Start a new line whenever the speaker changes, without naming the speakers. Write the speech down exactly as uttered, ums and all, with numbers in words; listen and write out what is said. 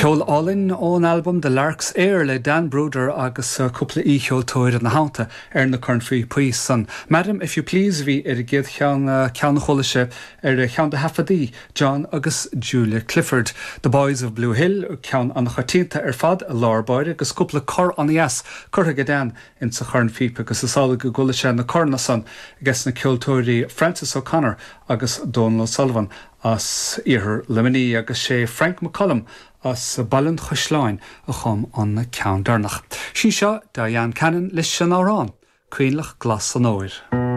Ceol álainn ón albam The Lark's Air le Dan Brouder agus cúpla aoicheoltóir ina theannta ar na cornphíopaí san. Madam if you please bhí ar an gcéad cheann ceann a chuala sibh ar cheann de thaifeadtaí John agus Julia Clifford. The Boys of Blue Hill ceann an-choitianta ar fad i lár báire agus cúpla cor an-dheas curtha ag Dan insa chornphíopa agus is amhlaidh go gcuala sé na corna san aige na ceoltóirí Francis O'Connor agus Donal O'Sullivan as iarthar Luimnigh agus sé Frank McCullum as Baile an Chaisleáin a chum an ceann deireanach. Sí seo Diane Cannon leis an amhrán, Coinleach Glas an Fhómhair.